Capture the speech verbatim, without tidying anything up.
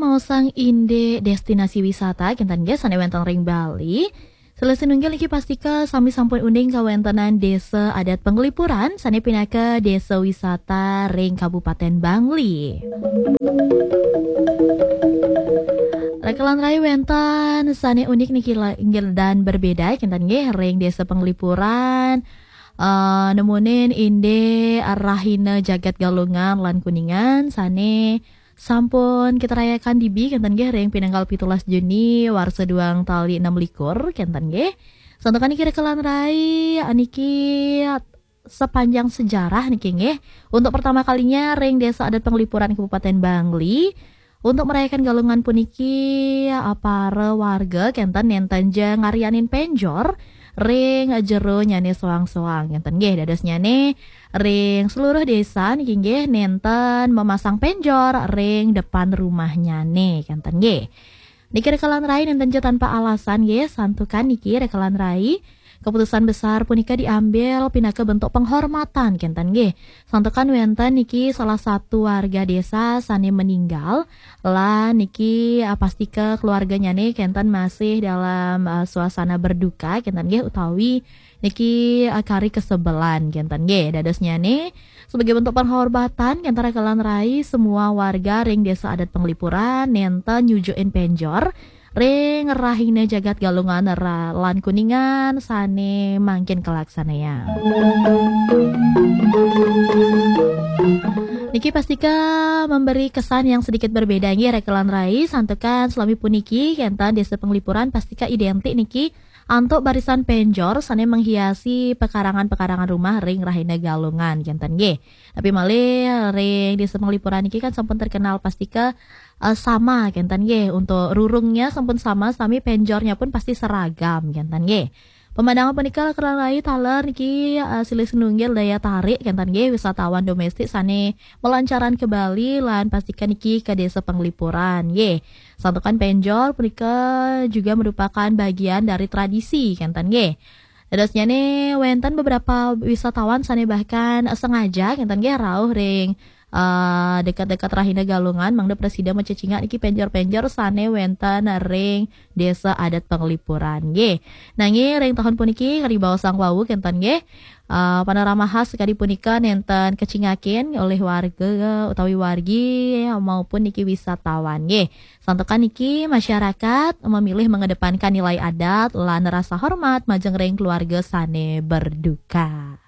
Maosang indik destinasi wisata kenten nggih sane wenten ring Bali. Silih sinunggil niki pastika sami sampun uning kawentenan Desa Adat Penglipuran sane pinaka desa wisata ring Kabupaten Bangli. Rekelan rai wenten sane unik niki la- inggil dan berbeda kenten nggih ring Desa Penglipuran. Eh, nemunin indik rahina jagat Galungan lan Kuningan sane sampun kita rayakan dibi kenten nggih ring pinanggal pitulas Juni warsa duang tali enam likur kenten nggih. Santukan niki rekelan rai niki sepanjang sejarah niki nggih. Untuk pertama kalinya ring Desa Adat Penglipuran Kabupaten Bangli untuk merayakan Galungan puniki, para warga kenten nenten ja ngarianin penjor ring jeronyane soang-soang kenten nggih. Dadosnyane ring seluruh desa niki nggih nenten memasang penjor ring depan rumahnyane kenten nggih. Niki rekelan rai nenten ja tanpa alasan nggih, santukan niki rekelan rai keputusan besar punika diambil pinaka bentuk penghormatan kenten nggih. Santukan wenten niki salah satu warga desa sane meninggal lan niki, ah, pastika keluarganyane kenten masih dalam, ah, suasana berduka kenten nggih utawi niki, ah, kari kesebelan kenten nggih. Dadosnyane sebagai bentuk penghormatan kenten rekelan rai semua warga ring Desa Adat Penglipuran nenten nyujukin penjor ring rahina jagat Galungan ra- lan Kuningan sane mangkin kalaksanayang. Niki pastika memberi kesan yang sedikit berbeda nggih rekelan rai santukan selami puniki kenten Desa Penglipuran pastika identik niki antuk barisan penjor sane menghiasi pekarangan-pekarangan rumah ring rahina Galungan kenten nggih. Tapi malih ring Desa Penglipuran niki kan sampun terkenal pastika, eh, sama kenten nggih. Untuk rurungnya sampun sama, sami penjornya pun pasti seragam kenten nggih. Pemandangan punika rekelan rai taler niki, eh, silih sinunggil daya tarik kenten nggih wisatawan domestik sane melancaran ke Bali lan pastika niki ke Desa Penglipuran nggih. Santukan penjor punika juga merupakan bagian dari tradisi kenten nggih. Dadosnyane wenten beberapa wisatawan sane bahkan sengaja kenten nggih rauh ring, eh, dekat-dekat rahina Galungan mangda prasida macecingak niki penjor-penjor sane wenten ring Desa Adat Penglipuran nggih. Nanging ring tahun puniki kadi baosang wau kenten nggih, eh, panorama khas kadi punika nenten kecingakin olih warga utawi wargi maupun niki wisatawan nggih. Santukan niki masyarakat memilih mengedepankan nilai adat lan rasa hormat majeng ring keluarga sane berduka.